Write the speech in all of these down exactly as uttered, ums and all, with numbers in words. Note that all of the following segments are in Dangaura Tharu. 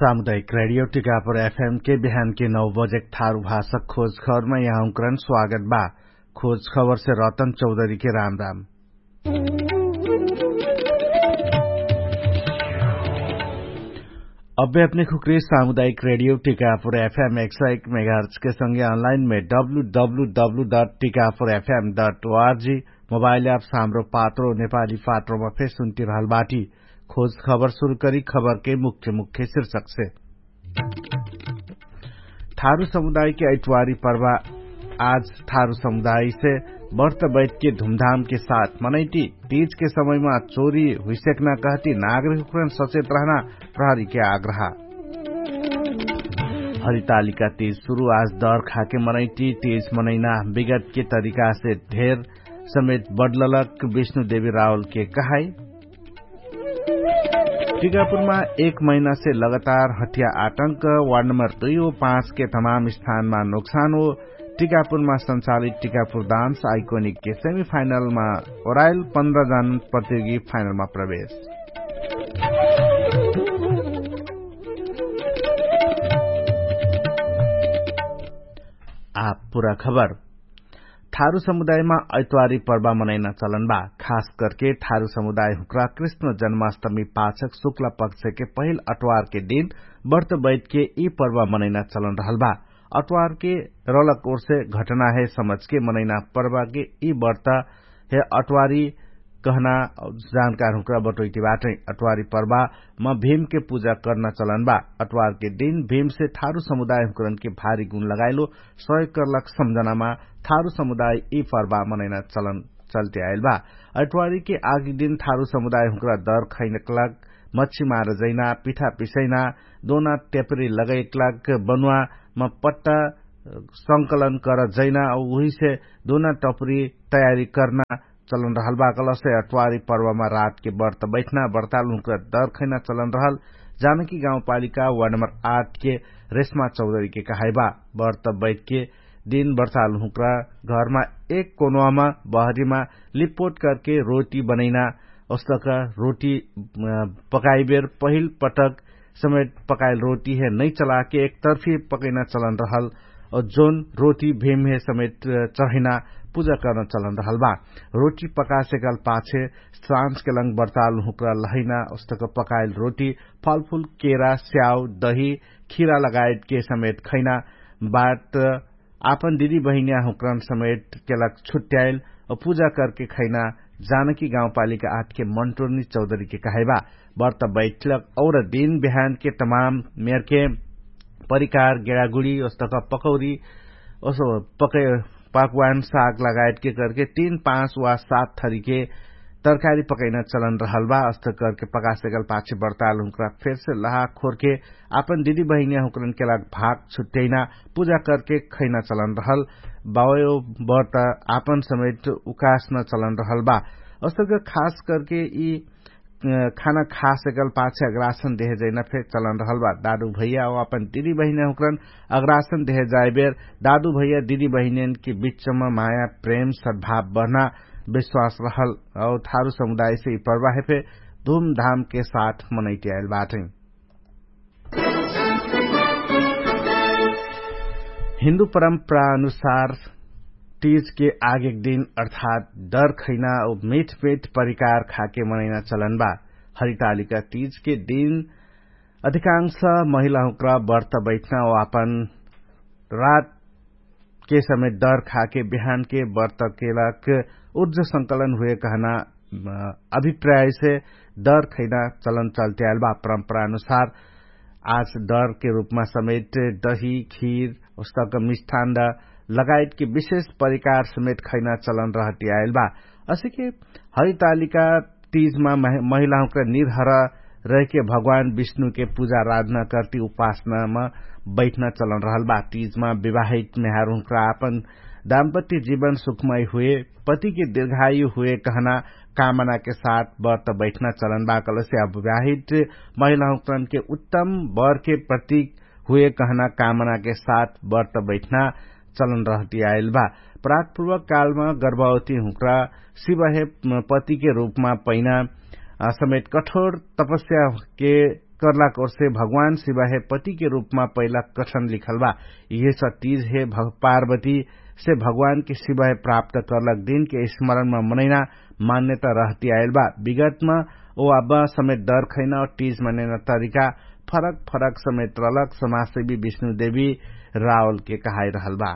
सामुदायिक रेडियो टिकापुर एफएम के बिहान के नौ बजेक थारु भाषक खोज खबरमा यहाँ हुँकरन स्वागत बा। खोज खबरसे रतन चौधरीके राम राम। अब्बे अपने खुक्रे सामुदायिक रेडियो टिकापुर एफएम एक सौ एक मेगाहर्चके संगे अनलाइनमे W W W dot Tikapur FM dot O R G mobile app साम्रो पात्रो नेपाली पात्रोमा फेर सुन्ति रहल बाटी। खोज खबर सुरु करी खबरके मुख्य मुख्य शीर्षकसे। थारु समुदायके ऐटवारी पर्वा आज थारु समुदायसे बर्त बैठके धुमधामके साथ मनैटी। तीजके समयमा चोरी हुइसेक्ना कहती नागरिकहुँकरन सचेत रहना प्रहरीके आग्रह। हरितालिका तीज सुरु आज दर खाके मनैटी। तीज मनैना विगतके तरिकासे धेर समेत बडललक विष्णुदेवी रावलके कहाई। टिकापुरमा एक महिनासे लगातार हटिया आटंक वार्ड नम्बर दुई हो पाँचके तमाम स्थानमा नोक्सान हो। टिकापुरमा सञ्चालित टिकापुर डान्स आइकोनिकके सेमिफाइनलमा ओराइल पन्ध्र जन प्रतियोगी फाइनलमा प्रवेश। आ पुरा खबर। थारु समुदायमा ऐतवारी पर्वा मनैना चलन बा। खास करके थारु समुदाय हुँक्रा कृष्ण जन्माष्टमी पाछक शुक्ला पक्षके पहिल अटवारके दिन बर्त बैठके यि पर्वा मनैना चलन रहल बा। अटवारके रलक ओरसे घटना हे समझके मनैना पर्वाके यि बर्त हे अटवारी कहना जानकार हुँक्रा बटोइटी बाटै। अटवारी पर्वा म भीमके पुजा कर्ना चलन बा। अटवारके दिन भीमसे थारु समुदाय हुँक्रनके भारी गुण लगाइलो सहयोग कर्लक सम्झनामा थारु समुदाय यि पर्वा मनैना चलन चल्ते आइल बा। अटवारीके आगी दिन थारु समुदाय हुँक्रा दर खैनकलक मच्छी मार जैना पिठा पिसैना दोना टेपरी लगैकलक बनुवा म पट्टा संकलन कर जैना उहिसे दोना टपरी तयारी कर्ना चलन रहल बा। कलसे अटवारी पर्वमा रातके बर्त बैठना बर्ताल हुँक्रा दर खैना चलन रहल। जानकी गाउँपालिका वार्ड नम्बर आठके रेशमा चौधरीके कहाइबा। बर्त बैठके दिन बर्ताल हुँक्रा घरमा एक कोनवामा बहरीमा लिपोट करके रोटी बनैना ओस्तक रोटी पकाइबेर पहिल पटक समेट पकाइल रोटी हे नैचलाके एक तर्फी पकैना चलन रहल। जोन रोटी भीम हे समेट चढैना पुजा कर्न चलन रहल बा। रोटी पकासेकल पाछे साँझके लङ्ग बर्ताल हुँक्रा लहैना ओस्तक पकाइल रोटी फलफुल केरा स्याउ दही खिरा लगायतके समेट खैना बाट आपन दिदी बहिनिया हुँक्रन समेट केलक छुट्याइल औ पुजा करके खैना जानकी गाउँपालिका आठके मन्टुर्नी चौधरीके कहाइबा। बर्त बैठलक और दिन बिहानके तमाम मेरके परिकार गेडागुडी ओस्तक पकौरी ओसो पकै पाकवान साग लगायतके करके तीन पाँच वा सात थरीके तरकारी पकैना चलन रहल बा। अस्तक करके पकासेकल पाछे बर्ताल हुँक्रा फेरसे लहा खोरके आपन दिदी बहिनिया हुँक्रनके लाग भाग छुट्याइना पुजा करके खैना चलन रहल। बावयो बर्त आपन समेट उकास्न चलन रहल बा। अस्तक खास करके यि खाना खासेकल पाछे अग्रासन देहे जैना फेर चलन रहल बा। दादु भैया औ आपन दिदी बहिनिया हुँक्रन अग्रासन देहे जाइबेर दादु भैया दिदी बहिनियनके बिच्चम माया प्रेम सद्भाव बढ्ना विश्वास रहल। औ थारु समुदायसे यि पर्वाहे फेर धुमधामके साथ मनैति आइल बाटै। हिन्दु परम्परा अनुसार तीजके आगेक दिन अर्थात् दर खैना औ मिठमिठ परिकार खाके मनैना चलन बा। हरितालिका तीजके दिन अधिकांश महिलाहुँक्रा बर्त बैठना औ आपन रात के समेत दर खाके बिहानके बर्त केलक उर्ज संकलन हुए कहना अभिप्रायसे दर खैना चलन चल्ते आइल बा। परम्परा अनुसार आज दरके रूपमा समेत दही खीर उस्तक मिष्ठान्ड लगायतके विशेष परिकार समेत खैना चलन रहति आइल बा। असिके हरितालिका तीजमा महिलाहुँक्रा निर्हर रहके भगवान विष्णुके पुजा राधना कर्ति उपासनामा बैठना चलन रहल बा। तीजमा विवाहित मेहारहुँक्रा आपन दाम्पत्य जीवन सुखमय हुए पतिके दीर्घायु हुए कहना कामनाके साथ बर्त बैठना चलन बा। कलसे अविवाहित महिलाहुँक्रनके उत्तम बरके प्रतीक हुए कहना कामनाके साथ बर्त बैठना चलन रहति आइल बा। प्रागपूर्वक कालमा गर्भवती हुँक्रा शिवहे पतिके रूपमा पैना समेत कठोर तपस्याके करलाक ओर्से भगवान शिवाहे पतिके रूपमा पैलाक कठन लिखल बा। यिहेस तीज हे पार्वतीसे भगवानके शिवाहे प्राप्त करलाक दिनके स्मरणमा मनैना मान्यता रहति आइल बा। विगतमा ओ अब समेत डर खैना तीज मनैना तरिका फरक फरक समेत रहलक समाजसेवी विष्णुदेवी रावलके कहाइरहल बा।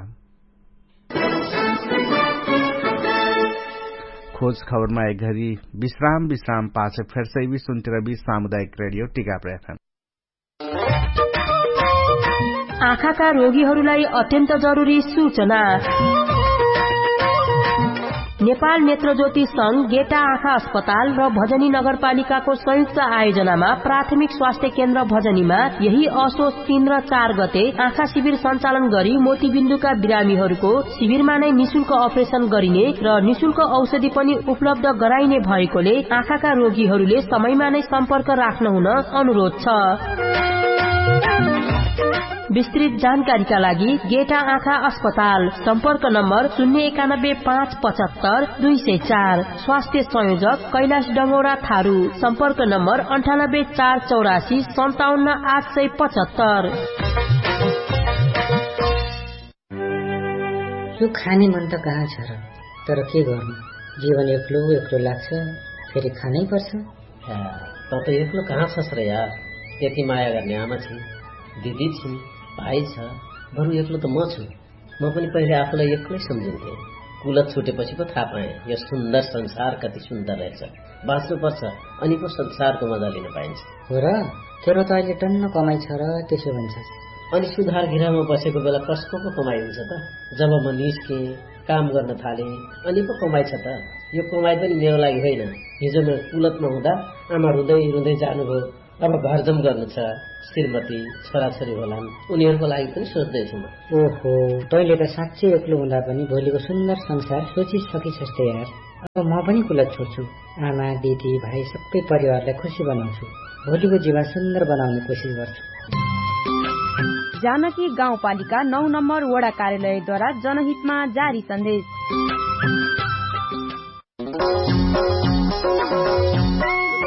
खोज खबरमा एक घरी विश्राम विश्राम पाछ फेरसैबी सुन्तिरबी सामुदायिक रेडियो टिकाप्रेफेम। आँखाका रोगीहरूलाई अत्यन्त जरुरी सूचना। नेपाल नेत्रज्योति संघ गेटा आँखा अस्पताल र भजनी नगरपालिकाको संयुक्त आयोजनामा प्राथमिक स्वास्थ्य केन्द्र भजनीमा यही असोच तीन र चार गते आँखा शिविर सञ्चालन गरी मोतीबिन्दुका बिरामीहरूको शिविरमा नै निशुल्क अपरेसन गरिने र निशुल्क औषधि पनि उपलब्ध गराइने भएकोले आँखाका रोगीहरूले समयमा नै सम्पर्क राख्न हुन अनुरोध छ। विस्तृत जानकारीका लागि गेटा आँखा अस्पताल, सम्पर्क नम्बर शून्य एकानब्बे पाँच पचहत्तर दुई सय चार। स्वास्थ्य संयोजक कैलाश डङ्गौरा थारू, सम्पर्क नम्बर अन्ठानब्बे चार चौरासी सन्ताउन्न आठ सय पचहत्तर। यो खाने मन त कहाँ छ र? तर के गर्नु, जीवन एक्लो एक्लो लाग्छ, फेरि खानै पर्छ। त त एक्लो कहाँ छस् र यार? यति माया गर्ने आमा छिन्, दिदी छिन्, भाइ छ, बरु एक्लो त म छु। म पनि पहिले आफूलाई एक्लै सम्झिन्थे। कुलत छुटेपछि पो थाहा पाएँ यो सुन्दर संसार कति सुन्दर रहेछ। बाँच्नु पर्छ, अनि पो संसारको मजा लिन पाइन्छ। हो र? तेरो त अहिले टन्न कमाइ छ र, त्यसो भन्छ। अनि सुधार गृहमा बसेको बेला कसको पो कमाइ हुन्छ त? जब म निस्केँ, काम गर्न थालेँ, अनि पो कमाइ छ त? यो कमाइ पनि मेरो लागि होइन। हिजो म कुलतमा हुँदा आमा रुँदै रुँदै जानुभयो। अब घरजम गर्नु छ, श्रीमती, छोराछोरी होलान्, उनीहरूको लागि पनि सोच्दैछु म। ओहो, तैँले त साँच्चै एक्लो हुँदा पनि भोलिको सुन्दर संसार सोचिसकिछस् त यार। अब म पनि कुलत छोड्छु। आमा, दिदी, भाइ, सबै परिवारलाई खुसी बनाउँछु। भोलिको जीवन सुन्दर बनाउने कोसिस गर्छु। जानकी गाउँपालिका नौ नम्बर वडा कार्यालयद्वारा जनहितमा जारी सन्देश।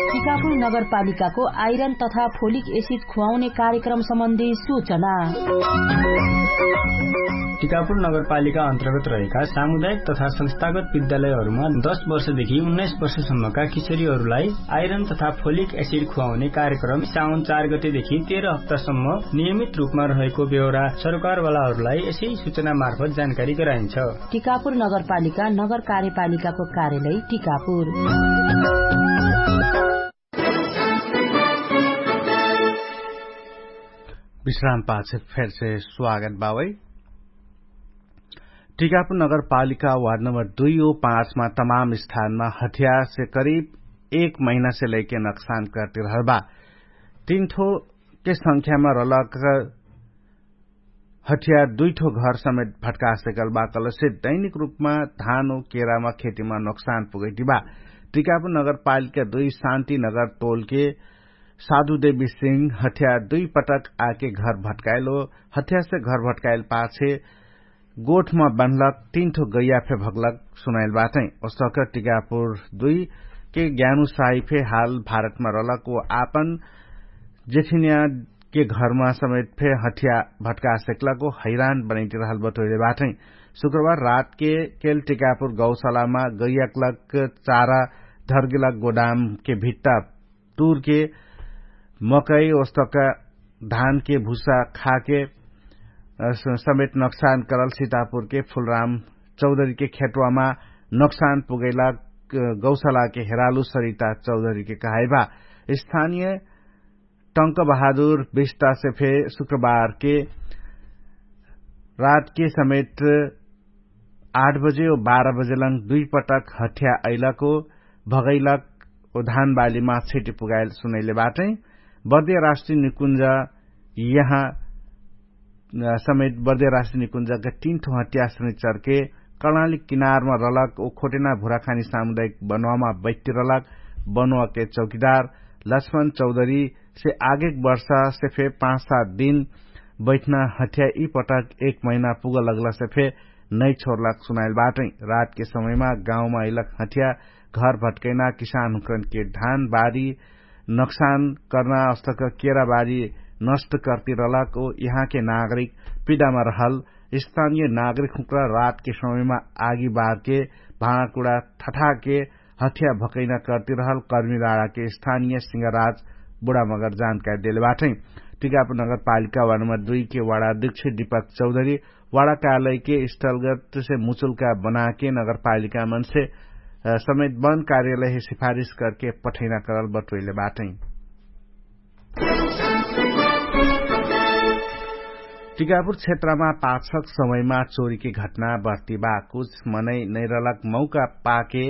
टिकापुर नगरपालिकाको आइरन तथा फोलिक एसिड खुवाउने कार्यक्रम सम्बन्धी सूचना। टिकापुर नगरपालिका अन्तर्गत रहेका सामुदायिक तथा संस्थागत विद्यालयहरूमा दश वर्षदेखि उन्नाइस वर्षसम्मका किशोरीहरूलाई आइरन तथा फोलिक एसिड खुवाउने कार्यक्रम साउन चार गतेदेखि तेह्र हप्तासम्म नियमित रूपमा रहेको बेहोरा सरकारवालाहरूलाई यसै सूचना मार्फत जानकारी गराइन्छ। टिकापुर नगरपालिका नगर कार्यपालिकाको कार्यालय टिकापुर। विश्राम पाछ फेरसे स्वागत बावै। टिकापुर नगरपालिका वार्ड नम्बर दुई ओ पाँचमा तमाम स्थानमा हथियारसे करिब एक महिनासे लैके नक्सान करतिरहल बा। तीन ठो के संख्यामा रलक हथियार दुई ठो घर समेत भटका सकल बा कलसे दैनिक रूपमा धान ओ केरामा खेतीमा नोक्सान पुगैती बा। टिकापुर नगरपालिका दुई शान्ति नगर तोलके साधुदेवी सिंह हथियार दुई पटक आके घर भटकाइल ओ हथियारसे घर भटकाइल पाछे गोठमा बन्हलक तीन ठो गैया फे भगलक सुनाइल बाटै। ओसक टिकापुर दुई के ज्ञानु साही फे हाल भारतमा रहलक ओ आपन जेठिनिया के घरमा समेत फे हथिया भटका सकलक ओ हैरान बनैति रहल बटोइले बाटै। शुक्रबार रात के केल टिकापुर गौशालामा गैयाकलक चारा धर्गेलक गोदाम के भित्ता तुरके मकै ओस्तक धानके भुसा खाके समेत नोक्सान करल सितापुरके फुलराम चौधरीके खेटवामा नोक्सान पुगैला गौशालाके हेरालु सरिता चौधरीके कहाइबा। स्थानिय टंक बहादुर बिस्तासे फे शुक्रबारके रातके समेत आठ बजे ओ बाह्र बजेलङ दुई पटक हठ्या अइलक ओ भगैलक ओ धानबालीमा छिटी पुगाइल सुनैले बाटै। बर्दिया राष्ट्रिय निकुञ्ज यहाँ समेत बर्दिया राष्ट्रिय निकुञ्जका तीन ठो हठ्या शनिचरके कर्णाली किनारमा रलक ओ खोटेना भुराखानी सामुदायिक बनुवामा बैठ्ति रलक बनुवाके चौकीदार लक्ष्मण चौधरी से आगेक वर्षा से फे पाँच सात दिन बैठना हठ्या यि पटक एक महिना पुग लगला से फे नै छोरलाक सुनाइल बाटै। रातके समयमा गाउँमा अइलक हठ्या घर भटकैना किसान हुँकरनके धान बारी नोक्सान कर्ना अस्तक केराबारी नष्ट कर्ति रहलक ओ यहाँके नागरिक पिडामा रहल। स्थानिय नागरिक हुँक्रा रातके समयमा आगी बारके भाँडाकुडा ठठाके हथिया भकैना कर्ति रहल कर्मी राडाके स्थानिय सिंहराज बुढामगर जानकारी देले बाटै। टिकापुर नगरपालिका वार्ड नम्बर दुई के वार्ड अध्यक्ष दीपक चौधरी वार्ड कार्यालय के स्टलगत से मुचुल्का बनाके नगरपालिका मनसे समेत बन कार्यालय हे सिफारिस करके पठैना करल बटोइले बाटै। टिकापुर क्षेत्रमा पाछक समयमा चोरीके घटना बर्तिबा कुछ मनै नैरलक मौका पाके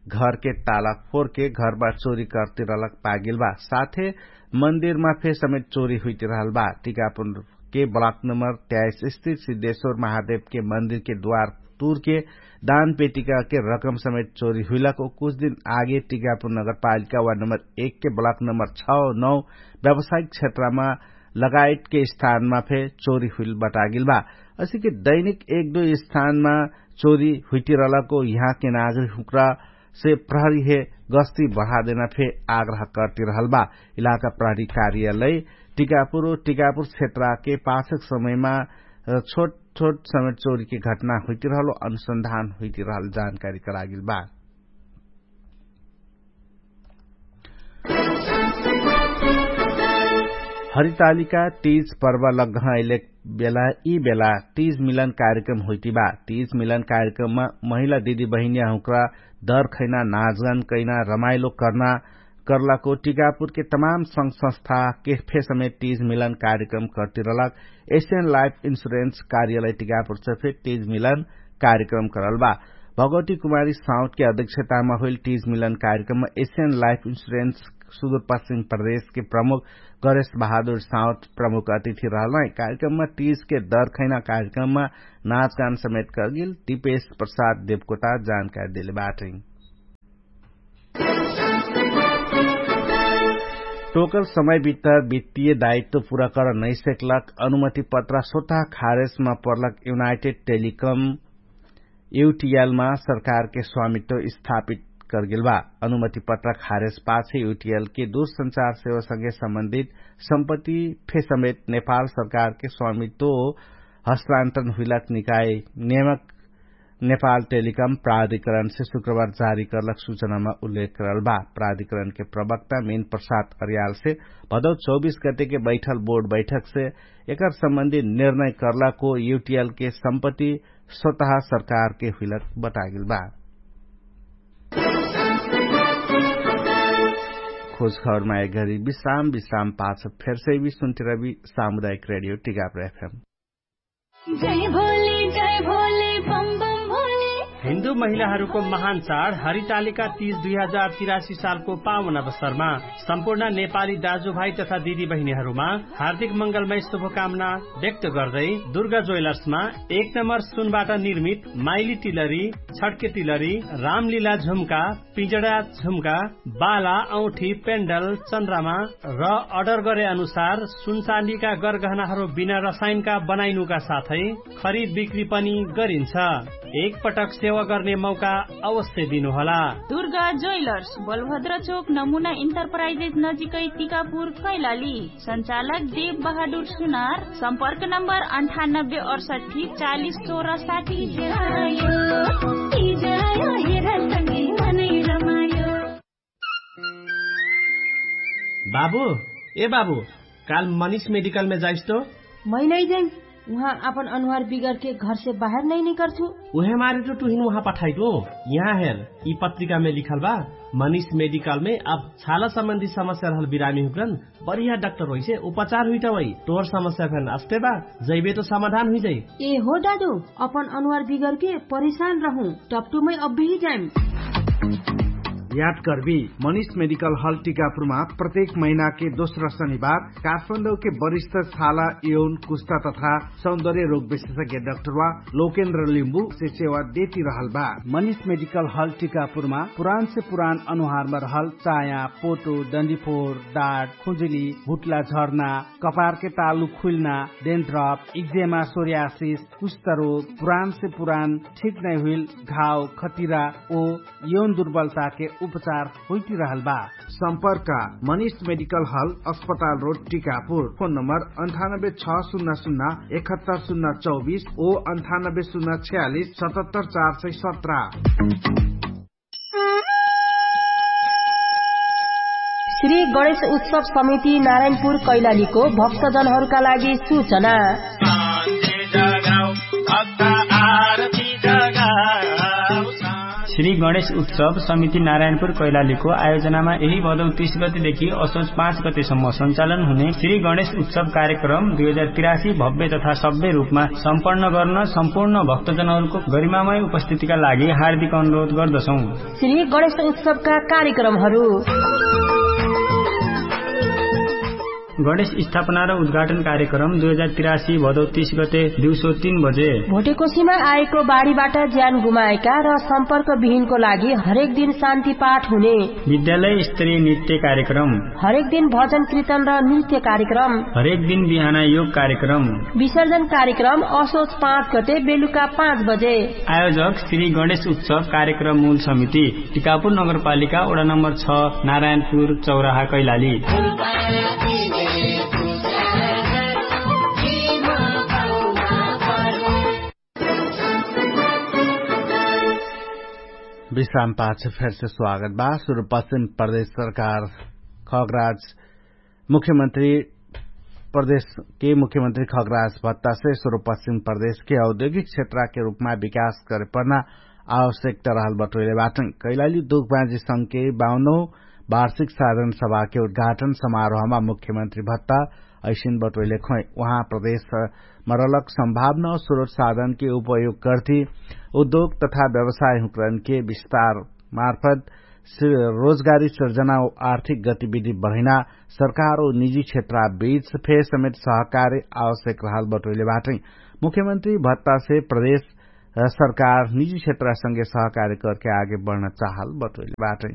घरके ताला फोरके घरबा चोरी कर्ति रहलक पागेल बा। साथे मन्दिरमा फे समेत चोरी हुइति रहल बा। टिकापुरके ब्लक नम्बर त्याइस स्थित सिद्धेश्वर महादेवके मन्दिरके द्वार तुरके दान पेटिकाके रकम समेत चोरी हुइलक ओ कुछ दिन आगे टिकापुर नगरपालिका वा नम्बर एकके ब्लक नम्बर छ नौ व्यावसायिक क्षेत्रमा लगायतके स्थानमा फे चोरी हुइल बटागेल बा। असिके दैनिक एक दुई स्थानमा चोरी हुइतिरहलको यहाँके नागरिक हुँक्रा से प्रहरी हे गस्ती बढादेना फे आग्रह कर्ति रहल बा। इलाका प्रहरी कार्यालय टिकापुर ओ टिकापुर क्षेत्रके पाछक समयमा छोट छोट समेत चोरीके घटना हुइतिरहलो अनुसन्धान हुइतिरहल जानकारी करागेल बा। हरितालिका तीज पर्व लग्घ अइलेक बेला यि बेला तीज मिलन कार्यक्रम हुइति बा। तीज मिलन कार्यक्रममा महिला दिदी बहिनिया हुँक्रा दर खैना नाचगान कैना रमाइलो कर्ना कर्लाको टिकापुरके तमाम संघ संस्था केफे समेत तीज मिलन कार्यक्रम कर्तिरलक एसियन लाइफ इन्सुरेन्स कार्यालय टिकापुर चफे तीज मिलन कार्यक्रम करल बा। भगवती कुमारी साउथके अध्यक्षतामा होइल तीज मिलन कार्यक्रममा एसियन लाइफ इन्सुरेन्स सुदूरपश्चिम प्रदेशके प्रमुख गरेश बहादुर साउथ प्रमुख अतिथि रहल है। कार्यक्रममा तीजके दर खैना कार्यक्रममा नाचगान समेत करगेल दिपेश प्रसाद देवकोटा जानकारी देले बाटै। टोकल समय भित्तर वित्तीय दायित्व पुरा कर नैसेकलक अनुमति पत्रा स्वतः खारेजमा पर्लक युनाइटेड टेलिकम युटिएलमा सरकारके स्वामित्व स्थापित करगेल बा। अनुमति पत्रा खारेज पाछे युटिएलके दूरसंचार सेवासँगे सम्बन्धित सम्पत्ति फे समेत नेपाल सरकारके स्वामित्व हस्तान्तरण हुइलक निकाय नियमक नेपाल टेलिकम प्राधिकरणसे शुक्रबार जारी करलक सूचनामा उल्लेख करल बा। प्राधिकरणके प्रवक्ता मेन प्रसाद अर्यालसे भदौ चौबीस गतेके बैठल बोर्ड बैठकसे एकर सम्बन्धी निर्णय करलाको युटिएलके सम्पत्ति स्वतः सरकारके हुइलक बतागेल बा। खोजखबरमा एक घरी विश्राम विश्राम पाछ फेरसै भी सुन्तिरबी सामुदायिक रेडियो टिकापुर एफएम। जय भोले जय भोले बम बम भोले। हिन्दू महिलाहरूको महान चाड हरितालिका तीज दुई हजार तिरासी सालको पावन अवसरमा सम्पूर्ण नेपाली दाजुभाइ तथा दिदी बहिनीहरूमा हार्दिक मंगलमय शुभकामना व्यक्त गर्दै दुर्गा ज्वेलर्समा एक नम्बर सुनबाट निर्मित माइली टिलरी, छड्के टिलरी, रामलीला झुम्का, पिजडा झुम्का, बाला औठी, पेन्डल, चन्द्रमा र अर्डर गरे अनुसार सुनचाँदीका गरगहनाहरू बिना रसायनका बनाइनुका साथै खरिद बिक्री पनि गरिन्छ। एकपटक सेवा गर्ने मौका अवश्य दिनुहोला। दुर्गा ज्वेलर्स, बलभद्र चोक, नमुना इन्टरप्राइजेस नजिकै, टिकापुर, कैलाली। सञ्चालक देव बहादुर सुनार। सम्पर्क नम्बर अन्ठानब्बे अडसट्ठी चालिस सोह्र साठी। बाबु, ए बाबु, काल मनिष मेडिकलमे जाइस तो? मै नै जाइम। उहाँ आपन अनुहार बिगरके घरसे बाहेर नै निकर्छु। उहे मारे तो तुहिन उहाँ पठाइटु। यहाँ हेर, यि पत्रिकामे लिखल बा, मनिष मेडिकलमे अब छाला सम्बन्धी समस्या रहल बिरामी हुक्रन बढिया डाक्टर होइसे उपचार हुइटा वइ। तोर समस्या फेन अस्ते बा, जैबे तो समाधान हुइजाइ। ए हो डाडु, अपन अनुहार बिगरके परेशान रहु, टपटुमै अब्बेही जाइम। याद करबी, मनिष मेडिकल हल टिकापुरमा प्रत्येक महिनाके दोस्रा शनिबार काठमाडौके वरिष्ठ छाला यौन कुस्ता तथा सौन्दर्य रोग विशेषज्ञ डाक्टरवा लोकेन्द्र लिम्बु से सेवा देति रहल बा। मनिष मेडिकल हल टिकापुरमा पुरानसे पुरान अनुहारमा रहल चाया, पोटो, डन्डिफोर, डाट, खुजुली, भुट्ला झर्ना, कपारके तालु खुइल्ना, डेन्ड्रप, इक्जेमा, सोर्यासिस, कुष्ठरोग, पुरानसे पुरान ठिक नै हुइल घाव, खतिरा ओ यौन दुर्बलताके उपचार होइतिरहल बा। सम्पर्क मनिष मेडिकल हल, अस्पताल रोड, टिकापुर। फोन नम्बर अन्ठानब्बे छ सुन्ना सुन्ना एकहत्तर सुन्ना चौबिस ओ अन्ठानब्बे सुन्ना छयालिस सतहत्तर चार सय सत्र। श्री गणेश उत्सव समिति नारायणपुर कैलालीको भक्तजनहरूका लागि सूचना। श्री गणेश उत्सव समिति नारायणपुर कैलालीको आयोजनामा यही भदौ तीस गतेदेखि असोज पाँच गतेसम्म सञ्चालन हुने श्री गणेश उत्सव कार्यक्रम दुई हजार तिरासी भव्य तथा सभ्य रूपमा सम्पन्न गर्न सम्पूर्ण भक्तजनहरूको गरिमामय उपस्थितिका लागि हार्दिक अनुरोध गर्दछौँ। श्री गणेश उत्सवका कार्यक्रमहरू। गणेश स्थापना र उद्घाटन कार्यक्रम दुई हजार तिरासी भदौ तीस गते दिउँसो तीन बजे। भोटेकोसीमा आएको बाढीबाट ज्यान गुमाएका र सम्पर्क विहीनको लागि हरेक दिन शान्ति पाठ हुने। विद्यालय स्तरीय नृत्य कार्यक्रम। हरेक दिन भजन कीर्तन र नृत्य कार्यक्रम। हरेक दिन बिहान योग कार्यक्रम। विसर्जन कार्यक्रम असोज पाँच गते बेलुका पाँच बजे। आयोजक श्री गणेश उत्सव कार्यक्रम मूल समिति, टिकापुर नगरपालिका, वडा नम्बर छ, नारायणपुर चौराहा, कैलाली। विश्राम पाछ फेरसे स्वागत बा। सुरुपश्चिम प्रदेश सरकार खगराज मुख्यमन्त्री प्रदेशके मुख्यमन्त्री खगराज भत्तासे सुरुपश्चिम प्रदेशके औद्योगिक क्षेत्रके रूपमा विकास करे पर्ना आवश्यकता रहल बटोइले बाटै। कैलाली दुख बाँजी संघके बाउनौ वार्षिक साधन सभाके उद्घाटन समारोहमा मुख्यमन्त्री भत्ता ऐसिन बटोइले खोइ उहाँ प्रदेश मरलक सम्भावना स्रोत साधनके उपयोग गर्ती उद्योग तथा व्यवसाय हुँकरनके विस्तार मार्फत रोजगारी सिर्जना आर्थिक गतिविधि बढैना सरकार निजी क्षेत्र बीच फेर समेत सहकारी आवश्यक रहल बटोइले बाटै। मुख्यमन्त्री भत्तासे प्रदेश सरकार निजी क्षेत्र संगे सहकारी करके आगे बढ्न चाहल बटोइले बाटै।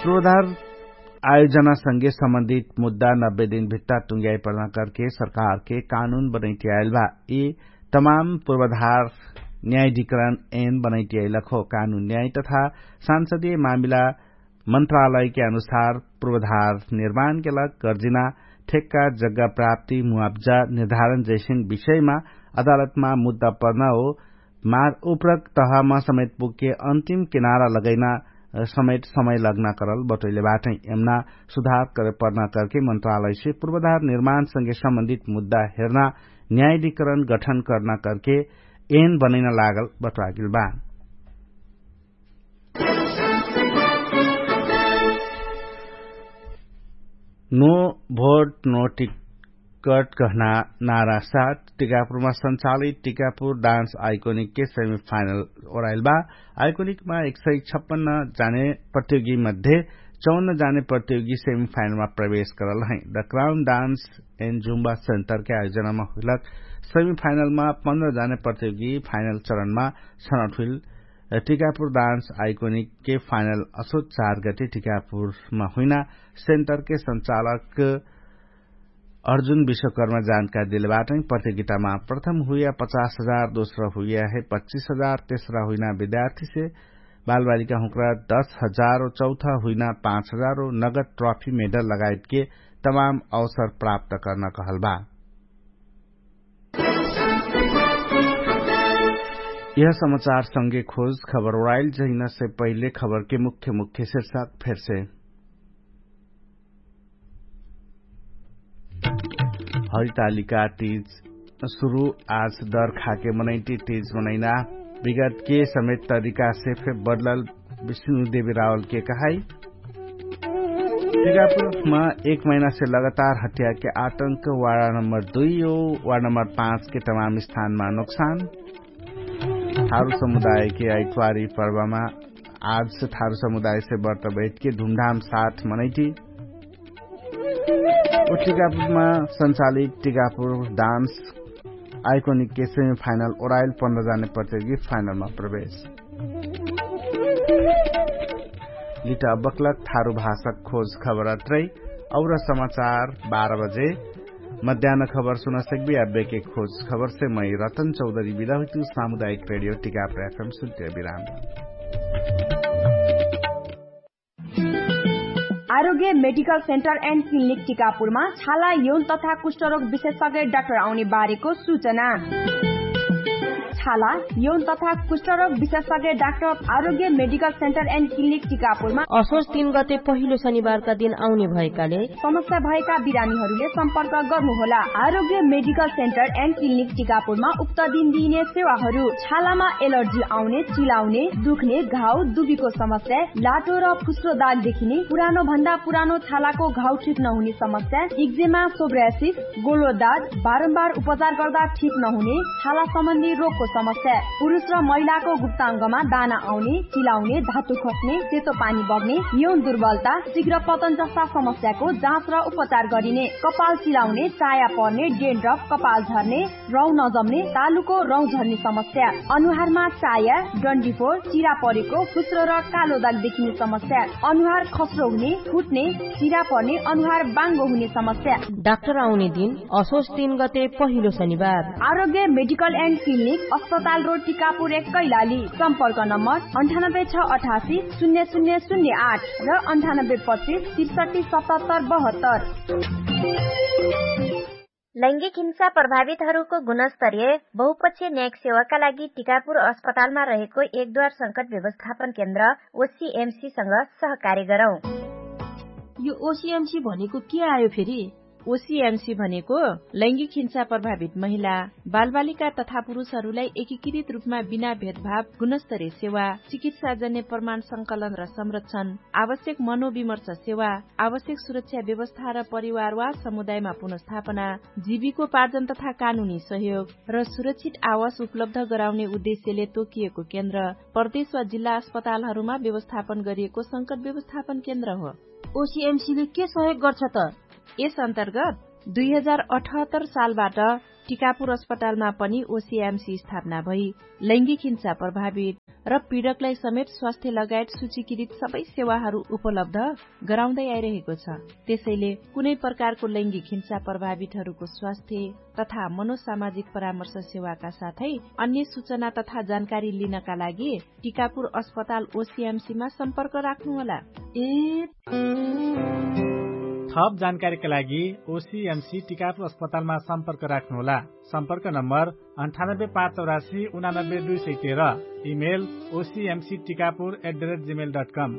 पूर्वाधार आयोजना संगे सम्बन्धित मुद्दा नब्बे दिन भित्ता टुङ्ग्याइ पर्ना करके सरकारके कानुन बनैतियाइल बा। यी तमाम पूर्वाधार न्यायाधिकरण एन बनैतियाइलक हो। कानुन न्याय तथा सांसदीय मामिला मन्त्रालयके अनुसार पूर्वाधार निर्माणके लग गर्जिना ठेक्का जग्गा प्राप्ति मुआब्जा निर्धारण जैसिन विषयमा अदालतमा मुद्दा पर्ना हो। मार उपरक तहमा समेत पुग्के अन्तिम किनारा लगैना समेत समय लग्ना करल बटोइले बाटै। यमना सुधार करे पर्ना करके मन्त्रालयसे पूर्वाधार निर्माण संगे सम्बन्धित मुद्दा हेर्ना न्यायाधिकरण गठन कर्ना करके एन बनैना लागल बटोआगेल बा। नो भोट नो टिकट कहना नारा साथ टिकापुरमा सञ्चालित टिकापुर डान्स आइकोनिकके सेमिफाइनल ओराइल बा। आइकोनिकमा एक सय छप्पन्न जाने प्रतियोगी मध्ये चौन्न जाने प्रतियोगी सेमिफाइनलमा प्रवेश करल है। The crown dance and Zumba सेन्टरके आयोजनामा हुइलक सेमिफाइनलमा पन्ध्र जाने प्रतियोगी फाइनल चरणमा छनौट हुइल। टिकापुर डान्स आइकोनिकके फाइनल असोच चार गते टिकापुरमा हुइना सेन्टरके सञ्चालक अर्जुन विश्वकर्मा जानकारी देले बाटै। प्रतियोगितामा प्रथम हुइया पचास हजार, दोस्रा हुइया है पच्चिस हजार, तेस्रा हुइना विद्यार्थीसे बालबालिका हुँक्रा दस हजार, चौथा हुइना पाँच हजार नगद ट्रफी मेडल लगायतके तमाम अवसर प्राप्त कर्ना कहल बा। यह समाचार संगे खोज खबर ओराइल जहिना से पहिले खबरके मुख्य मुख्य शीर्षक फेरसे। हरितालिका तीज सुरु आज दर खाके मनैटी तीज मनैना विगतके समेत तरिकासे फे बदलल विष्णु देवी रावलके कहाई। टिकापुरमा एक महिनासे लगातार हत्याके आतंक वाडा नम्बर दुई ओ वाडा नम्बर पाँचके तमाम स्थानमा नोक्सान। थारु समुदायके आइतवारी पर्वमा आज थारु समुदायसे बर्त बैठके धुमधाम साथ मनैटी। टिकापुरमा सञ्चालित टिकापुर डान्स आइकोनिकके सेमिफाइनल ओराइल पन्ध्र जाने प्रतियोगी फाइनलमा प्रवेश। लिटा बक्लक थारु भाषक खोज खबरत रै। और समाचार बाह्र बजे मध्यान खबर सुनसक्बी अब्बेके खोज खबरसे मै रतन चौधरी बिदा हुइतु। सामुदायिक रेडियो टिकापुर एफएम सुन्त्य बिराम। आरोग्य मेडिकल सेन्टर एन्ड क्लिनिक टिकापुरमा छाला यौन तथा कुष्ठरोग विशेषज्ञ डाक्टर आउने बारेको सुचना। छाला यौन तथा कुष्ठरोग विशेषज्ञ डाक्टर आरोग्य मेडिकल सेन्टर एन्ड क्लिनिक टिकापुरमा असोज तीन गते पहिलो शनिबारका दिन आउने भएकाले समस्या भएका बिरामीहरूले सम्पर्क गर्नुहोला। आरोग्य मेडिकल सेन्टर एन्ड क्लिनिक टिकापुरमा उक्त दिन दिइने सेवाहरू छालामा एलर्जी आउने, चिलाउने, दुख्ने, घाउ दुबीको समस्या, लाटो र फुस्रो दाग देखिने, पुरानो भन्दा पुरानो छालाको घाउ ठिक नहुने समस्या, इक्जेमा, सोब्रासिस, गोलो दाग, बारम्बार उपचार गर्दा ठिक नहुने छाला सम्बन्धी रोगको समस्या, पुरुष र महिलाको गुप्ताङ्गमा दाना आउने, चिलाउने, धातु खस्ने, सेतो पानी बग्ने, यौन दुर्बलता, शीघ्र पतन जस्ता समस्याको जाँच र उपचार गरिने। कपाल चिलाउने, चाया पर्ने, डेन्ड्रफ, कपाल झर्ने, रौँ नजम्ने, तालुको रौँ झर्ने समस्या, अनुहारमा चाया, डन्डीफोर, चिरा परेको, फुस्रो र कालो दाग देखिने समस्या, अनुहार खस्रो हुने, फुट्ने, चिरा पर्ने, अनुहार बाङ्गो हुने समस्या। डाक्टर आउने दिन असोज तीन गते पहिलो शनिबार। आरोग्य मेडिकल एन्ड क्लिनिक, अस्पताल रोड, टिकापुर एक, कैलाली। सम्पर्क नम्बर अन्ठानब्बे छ अठासी शून्य शून्य शून्य आठ र अन्ठानब्बे पच्चिस त्रिसठी सतहत्तर बहत्तर। लैङ्गिक हिंसा प्रभावितहरूको गुणस्तरीय बहुपक्षीय न्यायिक सेवाका लागि टिकापुर अस्पतालमा रहेको एकद्वार संकट व्यवस्थापन केन्द्र ओसिएमसीसँग सहकार्य गरौँ। यो ओसिएमसी भनेको के आयो फेरि? ओसिएमसी भनेको लैङ्गिक हिंसा प्रभावित महिला, बालबालिका तथा पुरुषहरूलाई एकीकृत रूपमा बिना भेदभाव गुणस्तरीय सेवा, चिकित्साजन्य प्रमाण संकलन र संरक्षण, आवश्यक मनोविमर्श सेवा, आवश्यक सुरक्षा व्यवस्था र परिवार वा समुदायमा पुनर्स्थापना, जीविकोपार्जन तथा कानुनी सहयोग र सुरक्षित आवास उपलब्ध गराउने उद्देश्यले तोकिएको केन्द्र प्रदेश वा जिल्ला अस्पतालहरूमा व्यवस्थापन गरिएको संकट व्यवस्थापन केन्द्र हो। ओसिएमसीले के सहयोग गर्छ त? यस अन्तर्गत दुई हजार अठहत्तर सालबाट टिकापुर अस्पतालमा पनि ओसिएमसी स्थापना भई लैङ्गिक हिंसा प्रभावित र पीडकलाई समेत स्वास्थ्य लगायत सूचीकृत सबै सेवाहरू उपलब्ध गराउँदै आइरहेको छ। त्यसैले कुनै प्रकारको लैङ्गिक हिंसा प्रभावितहरूको स्वास्थ्य तथा मनोसामाजिक परामर्श सेवाका साथै अन्य सूचना तथा जानकारी लिनका लागि टिकापुर अस्पताल ओसिएमसीमा सम्पर्क राख्नुहोला। ए थप जानकारीका लागि ओसिएमसी टिकापुर अस्पतालमा सम्पर्क राख्नुहोला। सम्पर्क नम्बर अन्ठानब्बे पाँच चौरासी उनानब्बे दुई सय तेह्र। Email OCMC Tikapur at the rate Gmail dot come.